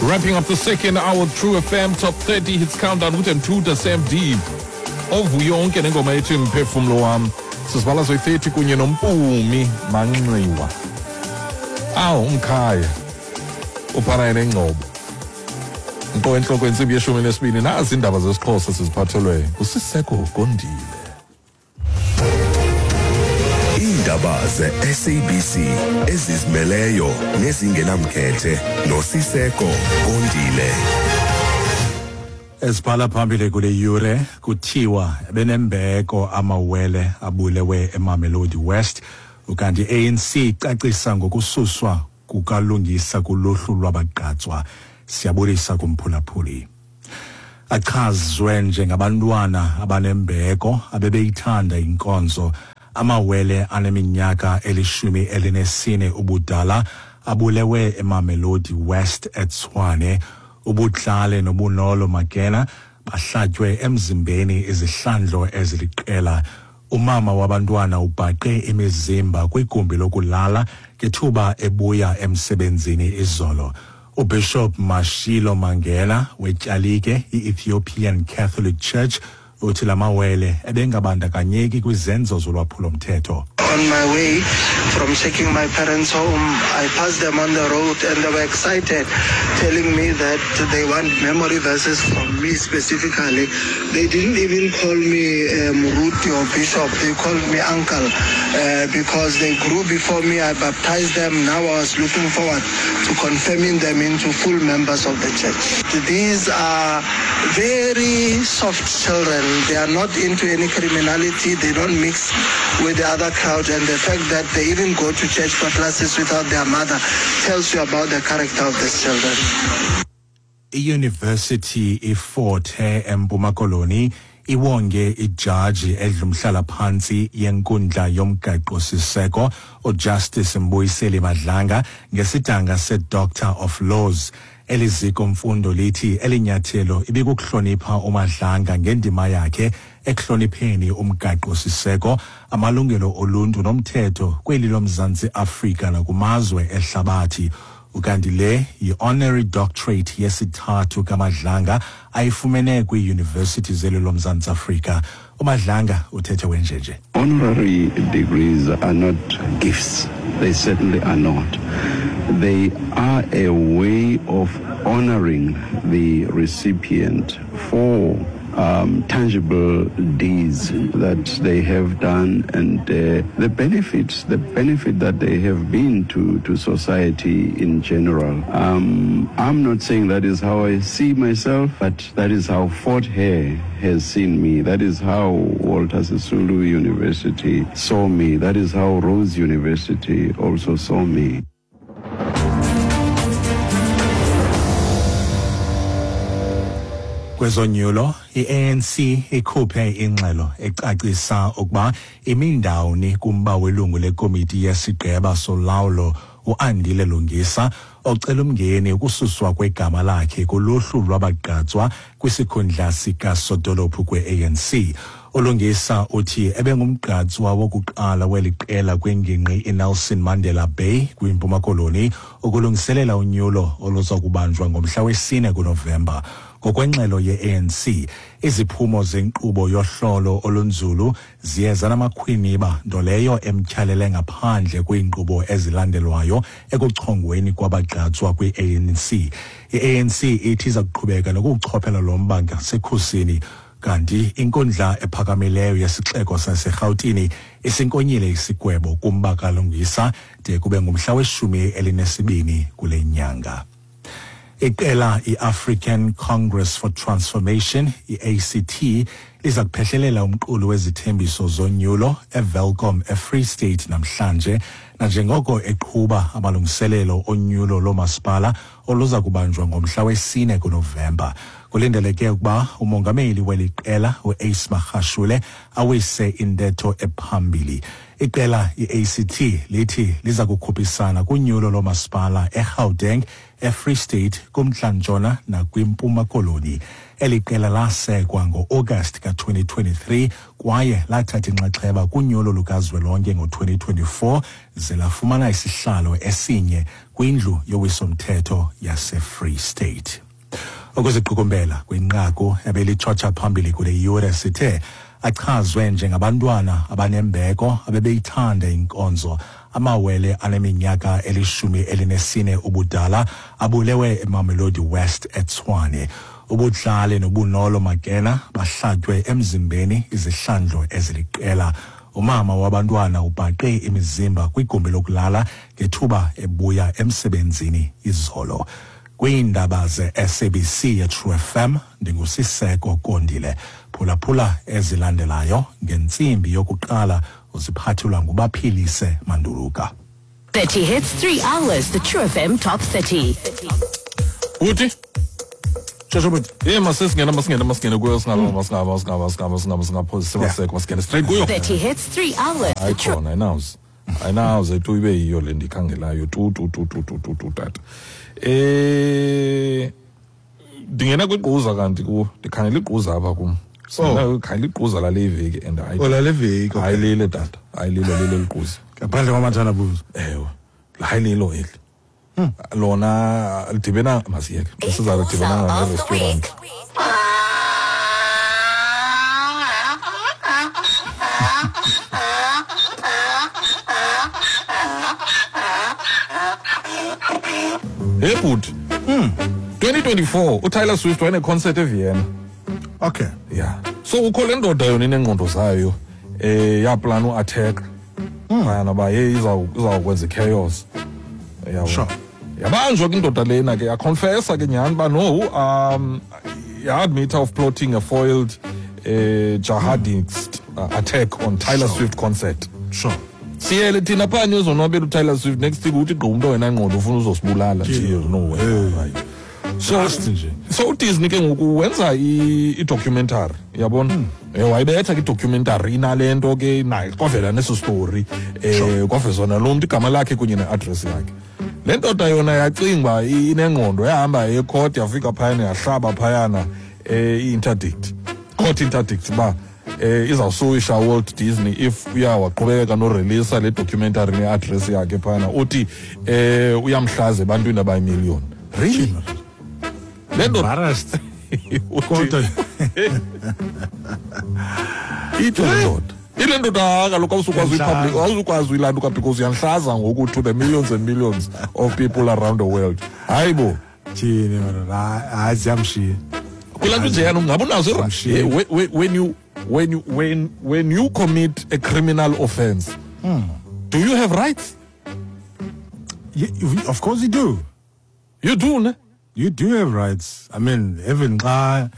Wrapping up the second hour True FM Top 30 Hits Countdown with Mthuda Sam Deep. Ovuyonke nengoma ethi mphefumlo wam. Sizibala zoyi-30 kunye noMpumi Manxiwa. Awu umkhaya. Uphana nengcobo. Nto entloko intsimbi yeshumi nesibini nazi iindaba zesiXhosa siziphathelwe ngusiseko Gondile. Iindaba ze-SABC ezizimeleyo nezingenamkhethe noSiseko Gondile. Ezibhala phambili kule yure kuthiwa benembeko amawele abulewe eMamelodi West, ukanti ANC icacisa ngokususwa kukalungisa kuluhlu lwabagqatswa. Siyabulisa kumphulaphuli. Achazwe njengabantwana abanembeko abebeyithanda inkonzo, amawele aneminyaka eli-14 ubudala abulewe eMamelodi West eTshwane. Ubutlale noBunolo Makena bahlatywe emzimbeni izihlandlo eziliqela. Umama wabantwana ubhaqe imizimba kwigumbi lokulala ngethuba ebuya emsebenzini izolo. UBishop Mashilo Mangena wetyalike i-Ethiopian Catholic Church uthi lamawele ebengabandakanyeki kwizenzo zolwaphulomthetho. On my way from taking my parents home, I passed them on the road and they were excited, telling me that they want memory verses from me specifically. They didn't even call me Ruti or Bishop, they called me uncle because they grew before me. I baptized them. Now I was looking forward to confirming them into full members of the church. These are very soft children. They are not into any criminality. They don't mix with the other crowd, and the fact that they even go to church for classes without their mother tells you about the character of these children. I-University iFort Hare eMpuma Koloni iwonge ijaji edlumhlala phantsi yenkundla yomgaqo-siseko uJustice Mbuyiseli Madlanga ngesidanga se-Doctor of Laws. Eli ziko mfundo lithi elinyathelo ibikukuhlonipha uMadlanga ngendima yakhe ekuhlonipheni umgaqo-siseko, amalungelo oluntu nomthetho kweli loMzantsi Afrika nakumazwe ehlabathi. Ukanti le yi-honorary doctorate yesithathu kaMadlanga ayifumene kwiiyunivesithi zeli loMzantsi Afrika. UMadlanga uthethe wenjenje. Honorary degrees are not gifts. They certainly are not. They are a way of honoring the recipient for tangible deeds that they have done and the benefit that they have been to society in general. I'm not saying that is how I see myself, but that is how Fort Hare has seen me. That is how Walter Sisulu University saw me. That is how Rhodes University also saw me. Kwezonyulo, i-ANC ikhuphe ingxelo ecacisa ukuba imindawuni kumba welungu lekomiti yesigqeba solawulo uAndile Lungisa ocela umngeni ukususwa kwegama lakhe kuluhlu lwabagqatswa kwisikhundla sikasodolophu kwe-ANC. ULungisa uthi ebengumgqatswa wokuqala weli qela kwingingqi iNelson Mandela Bay kwiMpuma Koloni ukulungiselela unyulo oluza kubanjwa ngomhla wesi-4 kuNovemba. Ngokwengxelo ye-ANC, iziphumo zenkqubo yohlolo olunzulu ziye zanamakhwiniba, nto leyo emtyhalele ngaphandle kwiinkqubo ezilandelwayo ekuchongweni kwabagqatswa kwi-ANC. I-ANC ithi iza kuqhubeka nokuwuchophela lo mba ngasekhusini. Kanti inkundla ephakamileyo yesixeko saseRhawutini isinkonyile isigwebo kumba kaLungisa de kube ngumhla we-12 kule nyanga. Iqela i-African Congress for Transformation, i-ACT, liza kuphehlelela umqulu wezithembiso zonyulo eWelkom eFree State namhlanje, nanjengoko eqhuba amalungiselelo onyulo loomasipala oluza kubanjwa ngomhla we-4 kuNovemba. Kulindeleke ukuba umongameli weli qela u-Ace Magashule awise intetho ephambili. Iqela i-ACT lithi liza kukhuphisana kunyulo loomasipala eGauteng, eFree State, kumntla-ntshona nakwiMpuma Koloni. Eli qela lasekwa ngo-August ka-2023 kwaye lathatha inxaxheba kunyulo lukazwelonke ngo-2024 ze lafumana isihlalo esinye kwindlu yowiso-mthetho yaseFree State. Ukuziqukumbela kwinqaku ebelitshotsha phambili kule yure sithe achazwe njengabantwana abanembeko abebeyithanda inkonzo. Amawele aneminyaka 14 ubudala abulewe eMamelodi West eTshwane. Ubudlale noBunolo Makena bahlatywe emzimbeni izihlandlo eziliqela. Umama wabantwana ubhaqe imizimba kwigumbi lokulala ngethuba ebuya emsebenzini izolo. Kwiindaba ze-SABC yeTrue FM, ndinguSiseko Kondile. Phulaphula ezilandelayo ngentsimbi yokuqala uziphathelwa nguBaphilise Manduluka. 30 hits, 3 hours, the True FM Top 30. Uthi? Shosho buti. Eh, masingena masingena masingena kuyo singaba masingaba masingaba masingaba masingaba singaphosi maseko masingena straight kuyo. 30 hits, 3 hours, the Hayi True khona ayinawuze. Ayinawuze tu ibe yiyo le ndikhangelayo tu tu tu tu tu tu tu tata. Ndingena kwigquza kanti kuwo ndikhangela igquza apha kum. Oh. Khangela igquza lale veki and hayi. Oh, lale veki, okay. Hayi lile tata. Hayi lilo lilo ligquza. Ngaphandle kwamathandabuzo. Ewe. Hayi lilo eli. Lona lidibena masiyeke. Siza lidibena of the ne-restaurant. week. Hey bhuti. 2024 uTaylor Swift wayeneconcert eVienna. Okay. Yeah. So ukho le ndoda yona inengqondo zayo yaplana uattack. Phayana ba hey izawukwenza chaos. Yabo. Sure. Yabanjwa ke indoda lena ke yaconfessa ke nyhani ba no yaadmit of plotting a foiled jihadist attack on Taylor Swift concert. Sure. Siyele thina phanye uzonwabela uTaylor Swift next thing uthi gqi umntu wena ngqondo ufuna uzosibulala nje no way. Right. So Just nje. So uDisney ke ngoku wenza i-documentary yabona. Wayibetha ke i-documentary inale nto ke nayo kwavela neso story kwavezwa nalo mntu igama lakhe kunye ne-address yakhe. Le ndoda yona yacinga uba inengqondo yahamba ecourt yafika phayana yahlaba phayana i-interdict. Court interdict uba izawusuwisha Walt Disney if uyawaqhubekeka noreleasa le documentary ne-address yakhe phayana uthi uyamhlaza ebantwini abayimiliyoni. Really? Le ndoda Embarrassed. Kodwa ithi le ndoda. Ile ndoda kaloku awusukwazi uyipublic, awusukwazi uyilanduka because uyanhlaza ngoku to the millions and millions of people around the world. Hayi bo. Thini madoda, hayi ziyamshiya. Kulaa nto njeyana ungabe unazo Ziyamshiya. When you commit a criminal offense, do you have rights? Yeah, of course you do. You do, ne? You do have rights. I mean, even xa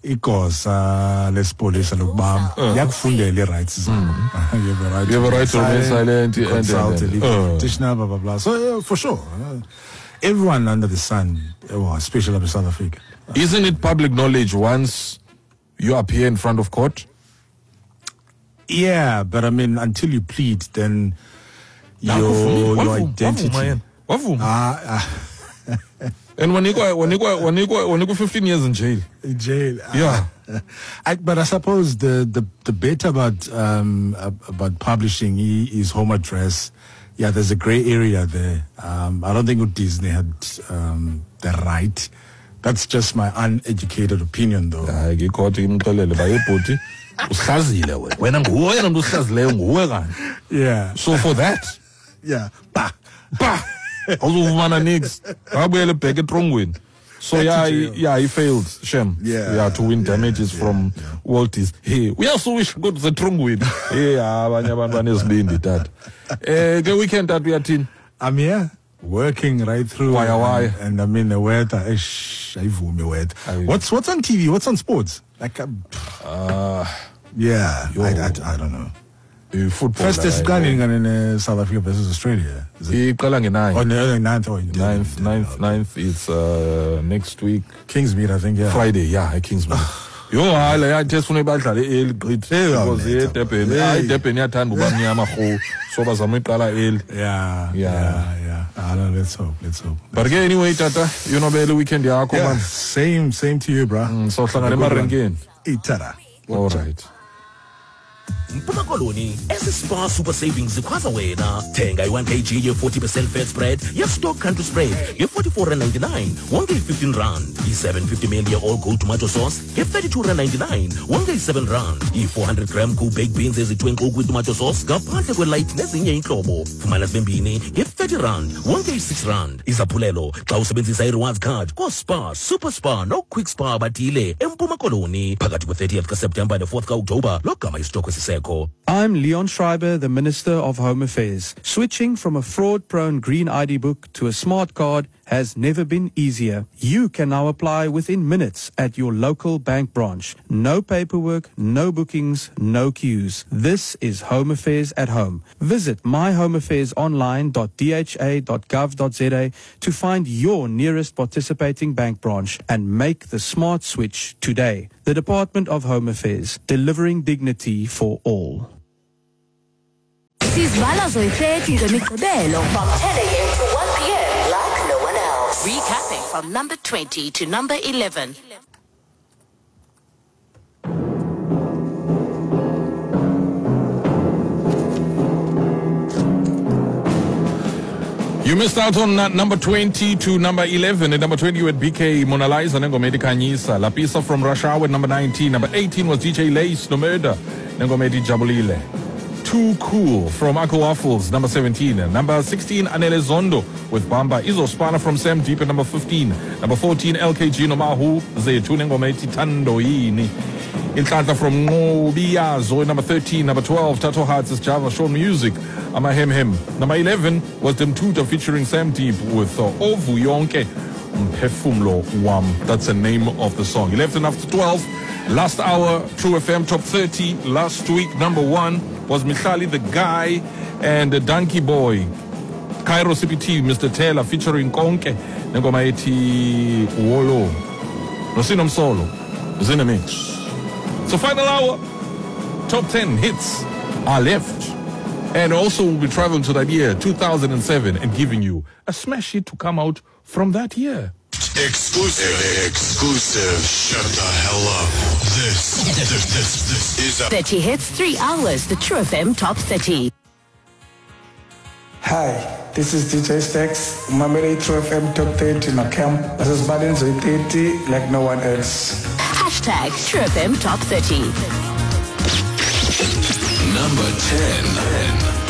igosa lesipolisa lokubamba liyakufundela i-rights zakho. You have a right. You have a right to remain silent and- consult a legal practitioner, blah blah blah. So yeah, for sure, everyone under the sun, well, especially up in South Africa. Isn't it public knowledge once you appear in front of court? Yeah, but I mean, until you plead, then your identity. Wavuma. And wanikwa 15 years in jail. In jail. Yeah. But I suppose the bit about publishing his home address, yeah, there's a grey area there. I don't think Disney had the right. That's just my uneducated opinion, though. Hayi ke ikhoti imxelele uba yebhuti usihlazile wena. Wena nguwe yena mntu usihlazileyo nguwe kanye. Yeah. So for that, Yeah. Bah. bah, awuzufumana nix. Wabuyele back etrongweni. So Back to yeah, jail. he failed, Shem. Yeah, Yeah, to win damages from Walt Disney. Hey, uyasuwisha kodwa usetrongweni. Hey, abanye abantu banesibindi tata. Ke weekend tata uyathini? I'm here working right through. Waya, waya. And I mean the weather. Eish, ayivumi weather. Ayi. What's on TV? What's on sports? Like, yeah, Yo. I don't know. Football. First la, isiqala ngane South Africa versus Australia. Is it? Iqala nge-9. Oh, no, 9th or Ninth, it's next week. Kingsmead, I think, yeah. Friday, yeah, at Kingsmead. Yho, hayi, le yathi esifuna badlale early gqithi because eDurban, hayi, iDurban iyathanda uba mnyama rhu, so bazama iqala early. Yeah. I know, let's hope, let's hope. But ke anyway, tata, yonwabele weekend yakho, man. Same to you, bra. Sohlangana emarenkeni. Itara. All right. Mpuma Koloni, esi Spar Super Savings zikhwaza wena. Thenga i-1 kg ye-40% fat spread ye-Stock Country Spread nge-44.99, wonke i-15 rand. I-750 ml ye-All Gold tomato sauce nge-32.99, wonke i-7 rand. I-400 gram cool baked beans ezithwe nkqu kwi-tomato sauce ngaphandle kwe-light nezinye iintlobo, fumana zibe mbini nge-30 rand, wonke i-6 rand. Izaphulelo xa usebenzisa i-rewards card kooSpar, Super Spar noQuick Spar batile eMpuma Koloni phakathi kwe-30th kaSeptemba ne-4th kaOktoba, logama isitokhwe sisekho. I'm Leon Schreiber, the Minister of Home Affairs. Switching from a fraud-prone green ID book to a smart card has never been easier. You can now apply within minutes at your local bank branch. No paperwork, no bookings, no queues. This is Home Affairs at home. Visit myhomeaffairsonline.dha.gov.za to find your nearest participating bank branch and make the smart switch today. The Department of Home Affairs, delivering dignity for all. Sizivala zoyi-30 zeMigqibelo from 10 a.m. to 1 p.m. like no one else. Recapping from number 20 to number 11. You missed out on number 20 to number 11. At number 20, you had BK Mona Lisa nengoma ethi Khanyisa. Lapisa from Russia at number 19. Number 18 was DJ Lace, No Murder, nengoma ethi Jabulile. Too Cool from Uncle Waffles, number 17. Number 16, Anele Zondo with Bamba. Izospana from Sam Deep at number 15. Number 14, LKG Nomahu Zethu nengoma ethi Thando Yini. Inhlanhla from Ngobiyazo, number 13. Number 12, Tato Hearts is Java Show Music, Amahem Hem. Number 11 was Demtuta featuring Sam Deep with Ovu Yonke Mphefumlo Wam. That's the name of the song. 11 after 12, last hour, True FM Top 30. Last week, number 1 was Mihlali the Guy and the Donkey Boy. Cairo CPT, Mr. Taylor featuring Konke, nengoma ethi Wolo. Nosinomsolo is in the mix. So final hour, top 10 hits are left. And also we'll be traveling to that year, 2007, and giving you a smash hit to come out from that year. Exclusive. Shut the hell up. This is a 30 hits, 3 hours, the True FM Top 30. Hi, this is DJ Stacks. Mamele True FM Top 30 na camp. This is Badenzo 30 like no one else. Hashtag True FM Top 30. Number 10.